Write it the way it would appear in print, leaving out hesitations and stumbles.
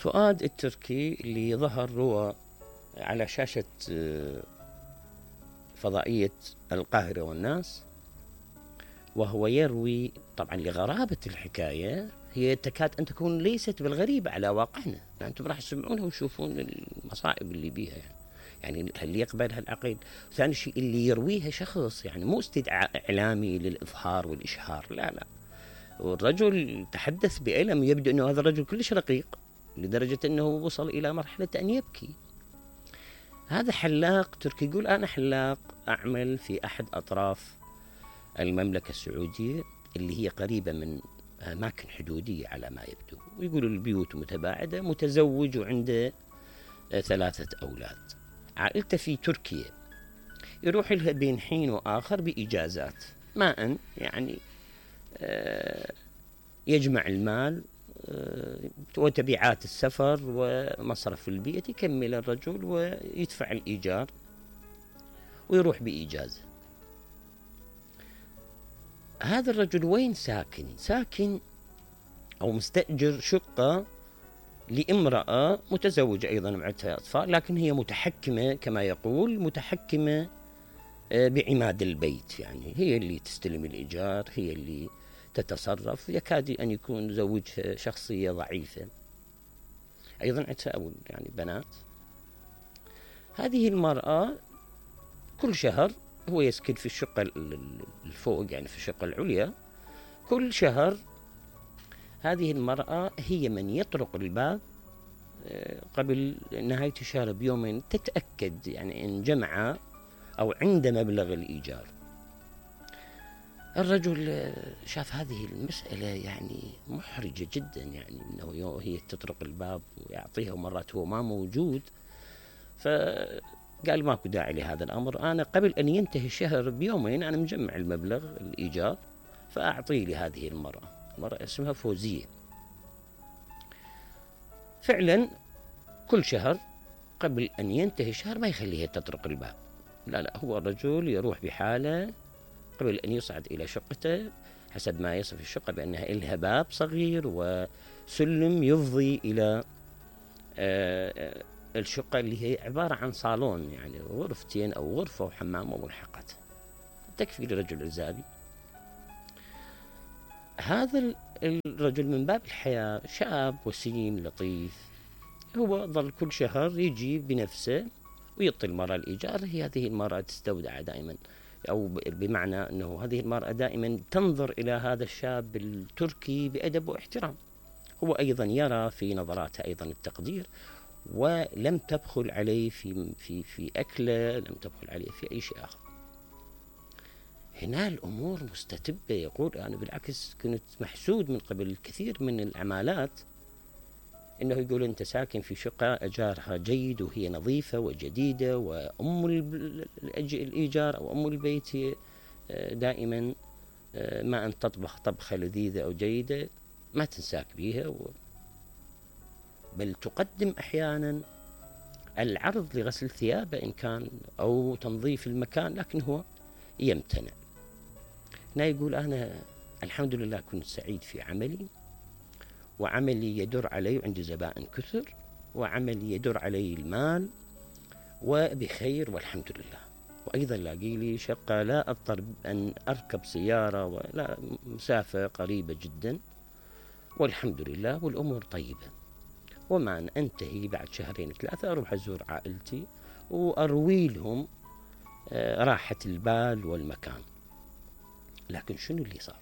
فؤاد التركي اللي ظهر روى على شاشة فضائية القاهرة والناس، وهو يروي طبعا لغرابة الحكاية، هي تكاد أن تكون ليست بالغريبة على واقعنا، أنتم راح تسمعونها وتشوفون المصائب اللي بيها يعني هل يقبل هالعقل؟ ثاني شيء اللي يرويها شخص يعني مو استدعاء إعلامي للإظهار والإشهار، لا، والرجل تحدث بألم، يبدو أنه هذا الرجل كلش رقيق لدرجة أنه وصل إلى مرحلة أن يبكي. هذا حلاق تركي، يقول أنا حلاق أعمل في أحد أطراف المملكة السعودية اللي هي قريبة من أماكن حدودية على ما يبدو، ويقول البيوت متباعدة، متزوج وعنده 3 أولاد، عائلته في تركيا، يروح لها بين حين وآخر بإجازات، ما أن يعني يجمع المال وتبعات السفر ومصرف البيت، يكمل الرجل ويدفع الإيجار ويروح بإجازة. هذا الرجل وين ساكن أو مستأجر شقة لامرأة متزوجة أيضا معها أطفال، لكن هي متحكمة كما يقول، متحكمة بعماد البيت، يعني هي اللي تستلم الإيجار، هي اللي تتصرف، يكاد أن يكون زوجها شخصية ضعيفة، أيضا عندها يعني بنات. هذه المرأة كل شهر هو يسكن في الشقة الفوق، يعني في الشقة العليا، كل شهر هذه المرأة هي من يطرق الباب قبل نهاية الشهر بيومين، تتأكد يعني إن جمع أو عند مبلغ الإيجار. الرجل شاف هذه المسألة يعني محرجة جدا، يعني إنه هي تطرق الباب ويعطيها ومرات هو ما موجود، فقال ماكو داعي لهذا الأمر، أنا قبل أن ينتهي الشهر بيومين أنا مجمع المبلغ الإيجار فأعطيه لهذه المرأة اسمها فوزية. فعلا كل شهر قبل أن ينتهي الشهر ما يخليها تطرق الباب، لا، هو الرجل يروح بحاله قبل أن يصعد إلى شقته، حسب ما يصف الشقة بأنها إلها باب صغير وسلم يفضي إلى الشقة اللي هي عبارة عن صالون، يعني غرفتين أو غرفة وحمام وملحقات، تكفي لرجل عزابي. هذا الرجل من باب الحياة، شاب وسيم لطيف، هو ظل كل شهر يجي بنفسه ويعطي المرأة الإيجار. هذه المرأة تستودع دائما، أو بمعنى أنه هذه المرأة دائما تنظر إلى هذا الشاب التركي بأدب واحترام، هو أيضا يرى في نظراتها أيضا التقدير، ولم تبخل عليه في أكله، لم تبخل عليه في أي شيء آخر. هنا الأمور مستتبة، يقول أنا بالعكس كنت محسود من قبل الكثير من العمالات، إنه يقول أنت ساكن في شقة أجارها جيد وهي نظيفة وجديدة، وأم الإيجار أو أم البيت هي دائما ما أن تطبخ طبخة لذيذة أو جيدة ما تنساك بيها، بل تقدم أحيانا العرض لغسل ثيابه إن كان أو تنظيف المكان، لكن هو يمتنع. هنا يقول أنا الحمد لله كنت سعيد في عملي، وعملي يدر علي وعندي زبائن كثر، وعملي يدر علي المال وبخير والحمد لله، وأيضا لاقي لي شقة لا أضطر أن أركب سيارة ولا مسافة قريبة جدا، والحمد لله والأمور طيبة. وما أن أنتهي بعد 2-3 أروح أزور عائلتي وأروي لهم راحة البال والمكان. لكن شنو اللي صار؟